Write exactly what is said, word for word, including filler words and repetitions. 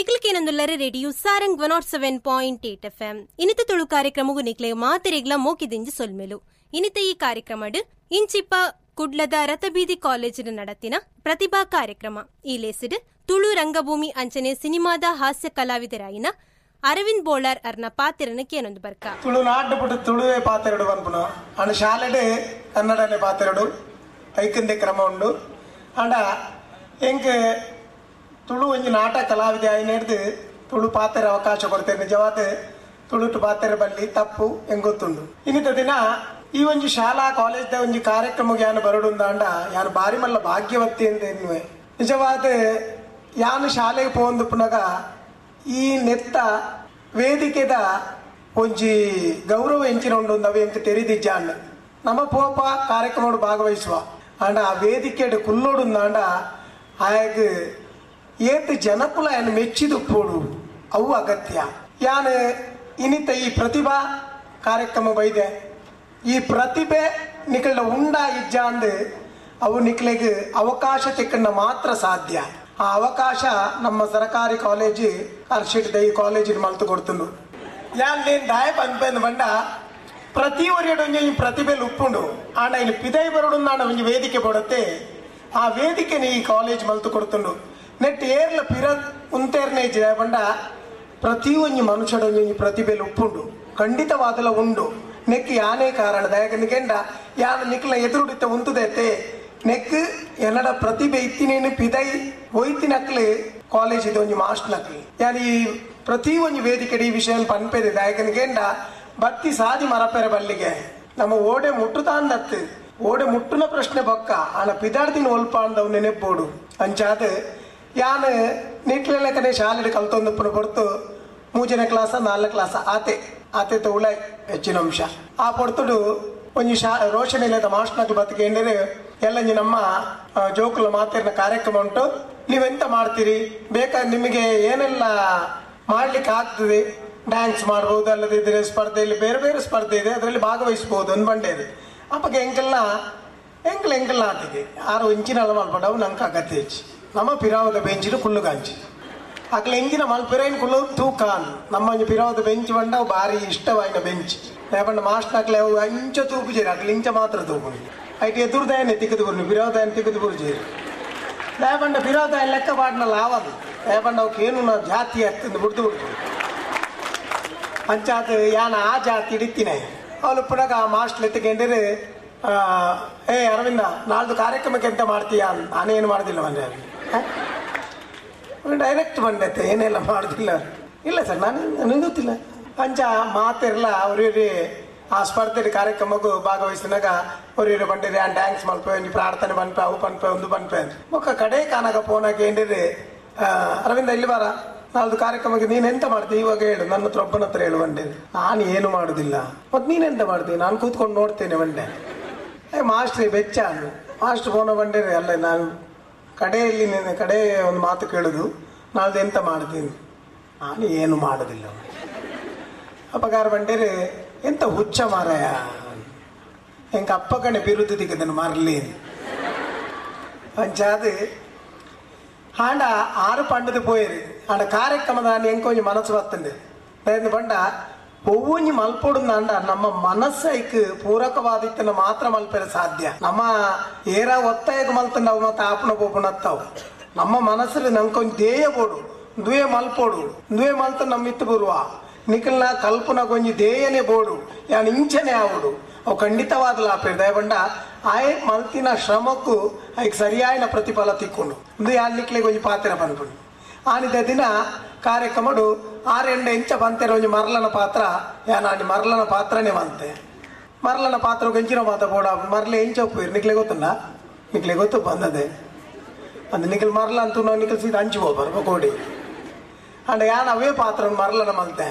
ನಿಕ್ಲಕೇನೊಂದುಲ್ಲರೆ radio Sarang one nought seven point eight F M. ಇನಿತ ತುಳು ಕಾರ್ಯಕ್ರಮಗೂ ನಿಕ್ಲೆ ಮಾತೆರೆಗ್ಲ ಮೋಕಿದಿಂಜಿ ಸೊಲ್ಮೆಲು. ಇನಿತ ಈ ಕಾರ್ಯಕ್ರಮಡ್ ಇಂಚಿಪ್ಪ ಕುಡ್ಲದ ರಥಬೀದಿ ಕಾಲೇಜಿನ ನಡತಿನ ಪ್ರತಿಭಾ ಕಾರ್ಯಕ್ರಮ. ಈ ಲೇಸಿಡ್ ತುಳು ರಂಗಭೂಮಿ ಅಂಚನೆ ಸಿನಿಮಾದ ಹಾಸ್ಯ ಕಲಾವಿದರಾಯಿನ ಅರವಿಂದ್ ಬೋಳಾರ್ ಅರ್ನ ಪಾತ್ರನ ಕೇನೊಂದು ಬರ್ಕ. ತುಳು ನಾಡು ಪುಟ್ಟು ತುಳುವೆ ಪಾತೆರಡು ಪನ್ಪುನ ಅಂಡ ಶಾಲೆಡೆ ಕನ್ನಡನೆ ಪಾತೆರಡು ಐಕಂದೆ ಕ್ರಮ ಉಂಡು. ಅಂಡ ಎಂಕ್ ತುಳು ಒಂಜಿ ನಾಟಕ ಕಲಾವಿದೆ ಆಯ್ನೆಡ್ದು ತುಳು ಪಾತೆರ ಅವಕಾಶ ಕೊಡ್ತೇನೆ. ನಿಜವಾದ ತುಳುಟು ಪಾತೆರ ಬಲ್ಲಿ ತಪ್ಪು ಎಂಗೊತ್ತುಂಡು. ಇನ್ನಿತ ದಿನ ಈ ಒಂಜಿ ಶಾಲಾ ಕಾಲೇಜ್ದ ಒಂಜಿ ಕಾರ್ಯಕ್ರಮಕ್ಕೆ ಯಾನು ಬರಡುಂದಾಂಡ ಯಾನು ಬಾರಿ ಮಲ್ಲ ಭಾಗ್ಯವತಿ ಅಂತ ಎನ್ನುವೆ. ನಿಜವಾದ ಯಾನು ಶಾಲೆಗೆ ಪೋಂದು ಪುನಗ ಈ ನೆತ್ತ ವೇದಿಕೆದ ಒಂಜಿ ಗೌರವ ಎಂಚಿನ ಉಂಡು ಅವು ಎಂಕ್ ತೆರಿದಿಜ್ಜಾಂಡ್. ನಮ್ಮ ಪೋಪ ಕಾರ್ಯಕ್ರಮ ಭಾಗವಹಿಸುವ ಆಂಡ ಆ ವೇದಿಕೆಡ್ ಕುಲ್ಲೋಡುಂದಾಂಡ ಆಯಗ್ ಏತ್ ಜನಕುಲ ಏನು ಮೆಚ್ಚಿದುಪ್ಪೋಡು ಅವು ಅಗತ್ಯ. ಯಾನು ಇನಿತ ಈ ಪ್ರತಿಭಾ ಕಾರ್ಯಕ್ರಮ ಬೈದೆ ಈ ಪ್ರತಿಭೆ ನಿಕಲ್ಡ ಉಂಡ ಇಜ್ಜಾಂದು ಅವು ನಿಕ್ಲೆಗ್ ಅವಕಾಶ ತಿಕ್ಕಂಡ ಮಾತ್ರ ಸಾಧ್ಯ. ಆ ಅವಕಾಶ ನಮ್ಮ ಸರಕಾರಿ ಕಾಲೇಜು ಅರ್ಷಿಟ್ ಈ ಕಾಲೇಜಿನ ಮಲ್ತು ಕೊಡ್ತುಂಡು. ಯಾನ್ ನೇನ್ ದಾಯ ಪನ್ಪೆಂದು ಬಂಡ ಪ್ರತಿ ಒರಿಯಡು ಒಂಜಿ ಪ್ರತಿಭೆಲು ಉಪ್ಪುಂಡು. ಆಂಡ ಇಲ್ಲಿ ಪಿದೈ ಬರಡುಂದಾಂಡ ಒಂಜಿ ವೇದಿಕೆ ಕೊಡುತ್ತೆ. ಆ ವೇದಿಕೆನ ಈ ಕಾಲೇಜ್ ಮಲ್ತು ಕೊಡ್ತುಂಡು. ನೆಟ್ ಏರ್ಲ ಪಿರ ಉಂತೇರ್ನೇ ಬಂಡ ಪ್ರತಿ ಒಂಜಿ ಮನುಷ್ಯಡೊಂಜಿ ಪ್ರತಿಭೆಲು ಉಪ್ಪುಂಡು, ಖಂಡಿತವಾದಲ ಉಂಡು. ನೆಕ್ ಯಾನೇ ಕಾರಣ ದಯಕಂದ ಯಾನ ನಿಕ್ಲ ಎದುರುಡಿತ ಉಂತುದೈತೆ ನೆಕ್ ಎನ್ನಡ ಪ್ರತಿಭೆ ಇತ್ತಿನೇನು ಪಿದೈ ಒಯ್ತಿನಕ್ಲೆ ಕಾಲೇಜ್ ಇದು ಒಂಜಿ ಮಾಸ್ಟರ್ ನಕ್ಲಿ. ಯಾನ್ ಈ ಪ್ರತಿ ಒಂಜಿ ವೇದಿಕೆ ಈ ವಿಷಯ ಪನ್ಪೆದೆ ದಯಕಂದ ಬತ್ತಿ ಸಾದಿ ಮರಪೆರೆ ಬಲ್ಲಿಗೆ ನಮ್ಮ ಓಡೆ ಮುಟ್ಟುತಾಂದತ್ತು ಓಡೆ ಮುಟ್ಟುನ ಪ್ರಶ್ನೆ ಬೊಕ್ಕ ಆನ ಪಿದಾಡ್ದಿನ ಒಲ್ಪ ಅಂದವು ನೆನೆಪ್ಪೋಡು. ಅಂಚಾದ ಯಾನ್ ನಿಟ್ಲೆಲೆಕ್ಕನೆ ಶಾಲೆಡ್ ಕಲ್ತೊಂದುಪ್ಪುನ ಪೊರ್ತು ಮೂಜನೇ ಕ್ಲಾಸ ನಾಲ್ಕನೇ ಕ್ಲಾಸ ಆತೆ ಆತೆ ತೌಳೈ ಹೆಚ್ಚಿನ ಅಂಶ. ಆ ಪೊರ್ತುಡು ಒಂಜಿ ಶಾ ರೋಷನ್ ಇಲ್ಲದ ಮಾಸ್ಟರ್ನಕ್ಲು ಬತ್ತಿಕೆಂದರೆ ಎಲ್ಲಂಜಿ ನಮ್ಮ ಜೋಕುಲ ಮಾತಿರ್ನ ಕಾರ್ಯಕ್ರಮ ಉಂಟು, ನೀವೆಂತ ಮಾಡ್ತೀರಿ ಬೇಕಾದ್ರೆ ನಿಮಗೆ ಏನೆಲ್ಲ ಮಾಡ್ಲಿಕ್ಕೆ ಆಗ್ತದೆ, ಡ್ಯಾನ್ಸ್ ಮಾಡ್ಬೋದು, ಅಲ್ಲದಿದ್ದರೆ ಸ್ಪರ್ಧೆಯಲ್ಲಿ ಬೇರೆ ಬೇರೆ ಸ್ಪರ್ಧೆ ಇದೆ ಅದರಲ್ಲಿ ಭಾಗವಹಿಸ್ಬೋದು ಒಂದು ಬಂಡೇರು. ಅಪ್ಪಗೆ ಎಂಕೆಲ್ಲ ಎಂಕಲ್ ಎಂಕೆಲ್ಲ ಆತಿಗೆ ಆರು ಇಂಚಿನೆಲ್ಲ ಮಲ್ಪಡವು ನಂಗೆ ಅಗತ್ಯ ಹೆಚ್ಚು. ನಮ್ಮ ಪಿರಾವದ ಬೆಂಚಿನ ಕುಳ್ಳುಗಾಂಚಿ ಅಕ್ಲ ಎಂಜಿನ ಮಲ್ಪಿರೈನ್ ಕುಳ್ಳು ತೂಕಾನ್ ನಮ್ಮ ಒಂಜಿ ಪಿರಾವದ ಬೆಂಚ್ ಬಂಡವು ಭಾರಿ ಇಷ್ಟವಾಯಿನ ಬೆಂಚ್. ಲೇಪಂಡ ಮಾಸ್ಟರ್ ಅಕ್ಲೆ ಅವು ಅಂಚ ತೂಪು ಜೇರಿ ಅಕ್ಲ ಇಂಚ ಮಾತ್ರ ತೂಪು ಐಟ್ ಎದುರುದಾಯನೆ ತಿಕ್ಕದು ಬುರ್ನಿ ಪಿರಾವದಾಯನ ತಿಕ್ಕದು ಬುರು ಜೇರಿ ಲೇಪಂಡ ಪಿರಾವದಾಯ ಲೆಕ್ಕ ಪಾಡ್ನ ಲಾವದು ಲೇಪಂಡ ಅವಕ್ಕೆ ಏನು ನಾವು ಜಾತಿ ಆಗ್ತದೆ ಬುಡ್ದು ಬಿಡ್ತು ಅಂಚಾತ ಯಾನ ಆ ಜಾತಿ ಹಿಡಿತೀನಿ. ಅವಳು ಪುನಗ ಆ ಮಾಸ್ಟರ್ ಎತ್ತಿಕೊಂಡ್ರೆ ಏ ಅರವಿಂದ ನಾಳ್ದು ಕಾರ್ಯಕ್ರಮಕ್ಕೆ ಎಂತ ಮಾಡ್ತೀಯಾ, ನಾನೇನು ಮಾಡೋದಿಲ್ಲ ಬಂದೆ ಡೈರೆಕ್ಟ್ ಬಂದೈತೆ ಏನೆಲ್ಲ ಮಾಡೋದಿಲ್ಲ. ಇಲ್ಲ ಸರ್ ನಾನು ನನಗೆ ಗೊತ್ತಿಲ್ಲ ಅಂಚ ಮಾತಿರಲ್ಲ. ಅವ್ರಿಗೆ ಆ ಸ್ಪರ್ಧೆ ಕಾರ್ಯಕ್ರಮಕ್ಕೂ ಭಾಗವಹಿಸಿನಾಗ ಅವ್ರಿಗೆ ಬಂಡಿರಿ ಆ ಡ್ಯಾನ್ಸ್ ಮಲ್ಪೆ ಒಂಜಿ ಪ್ರಾರ್ಥನೆ ಪನ್ಪೆ ಅವು ಪನ್ಪೆ ಒಂದು ಪನ್ಪೆ ಮೊಕ್ಕ ಕಡೆ ಕಾನಾಗ ಫೋನ್ ಹಾಕಿ ಅರವಿಂದ ಇಲ್ಲಿ ಬಾರ ನಾಳ್ದು ಕಾರ್ಯಕ್ರಮಕ್ಕೆ ನೀನು ಎಂತ ಮಾಡ್ತೀವಿ ಇವಾಗ ಹೇಳು, ನನ್ನ ಹತ್ರ ಒಬ್ಬನ ಹತ್ರ ಹೇಳು ಬಂಡೆ. ನಾನು ಏನು ಮಾಡುದಿಲ್ಲ. ಮತ್ತು ನೀನೆಂತ ಮಾಡ್ತೀನಿ? ನಾನು ಕೂತ್ಕೊಂಡು ನೋಡ್ತೇನೆ ಬಂಡೆ. ಏ ಮಾಸ್ಟ್ರಿ ಬೆಚ್ಚ ಅಂದು ಮಾಸ್ಟ್ರ್ ಫೋನ ಬಂಡೇರಿ ಅಲ್ಲ ನಾನು ಕಡೆಯಲ್ಲಿ ನಿನ್ನ ಕಡೆ ಒಂದು ಮಾತು ಕೇಳುದು, ನಾಳ್ದು ಎಂತ ಮಾಡ್ತೀನಿ? ನಾನು ಏನು ಮಾಡೋದಿಲ್ಲ. ಅಪ್ಪಗಾರ ಬಂಡೇರಿ ಎಂತ ಹುಚ್ಚ ಮಾರಾಯ, ಎಂಕ ಅಪ್ಪ ಕಣೆ ಬಿರುದು ದಿಕ್ಕದನ್ನು ಮಾರಲಿ ಅಂಚಾದ ಆಂಡ ಆರು ಪಂಡದು ಪೋಯಿರಿ. ಆಂಡ ಕಾರ್ಯಕ್ರಮದ ಎಂಕೊಂಜಿ ಮನಸ್ಸು ಬರ್ತಂಡೆ ಬಂಡ ಒವ್ವೊಂಜಿ ಮಲ್ಪೊಡುಂದಾಂಡ ನಮ್ಮ ಮನಸ್ಸೈಕ್ ಪೂರಕವಾದಿತ್ತನ ಮಾತ್ರ ಮಲ್ಪೆರೆ ಸಾಧ್ಯ. ನಮ್ಮ ಏರ ಒತ್ತಾಯಕ್ಕೆ ಮಲ್ತಂಡ ಅವು ಮತ್ತೆ ಆಪುಣ ಪೋಪುಣ ಅತ್ತಾವು. ನಮ್ಮ ಮನಸ್ಸಲ್ಲಿ ನಂಕೊಂಜಿ ಧ್ಯೇಯ ಬೋಡು, ದುವೆ ಮಲ್ಪೊಡು, ದುವೆ ಮಲ್ತ ನಮ್ಮ ಇತ್ತು ಬರುವ ನಿಖಲ್ನ ಕಲ್ಪನ ಕೊಂಜಿ ಧ್ಯೇಯನೇ ಬೋಡು, ಯಾನ್ ಇಂಚನೆ ಆವಡು ಅವು ಖಂಡಿತವಾದ ಲಾಪೇರು ದಯಬಂಡ ಆಯ್ ಮಲ್ತಿನ ಶ್ರಮಕ್ಕೂ ಐಕ್ ಸರಿಯಾಯಿನ ಪ್ರತಿಫಲ ತಿಕ್ಕೊಂಡು ಒಂದು ಯಾನ್ ನಿಕ್ಲೆ ಕೊಂಜಿ ಪಾತ್ರ ಪನ್ಪುಂಡು. ಆನಿದ ದಿನ ಕಾರ್ಯಕ್ರಮಡು ಆರೆಂಡ ಇಂಚ ಬಂತೆರ ಒಂಜಿ ಮರಲನ ಪಾತ್ರ ಯಾನ್ ಆನಿ ಮರಲನ ಪಾತ್ರನೇ ಬಂತೆ. ಮರಲನ ಪಾತ್ರ ಕಂಚಿನ ಮಾತ ಬೋಡ ಮರಲೆ ಎಂಚ ಒಪ್ಪುಯಿರು ನಿಕ್ಲೆ ಗೊತ್ತುಂಡ, ನಿಕ್ಲೆ ಗೊತ್ತು ಬಂದದೆ ಅಂದ್ ನಿಖಲ್ ಮರಲ ಅಂತೂ ನಾವು ನಿಖಲ್ ಸೀದಾ ಅಂಚು ಹೋಗ್ಬಾರ ಕೋಡಿ. ಅಂಡ ಯಾನ್ ಅವೇ ಪಾತ್ರ ಮರಲನ ಮಲ್ತೆ.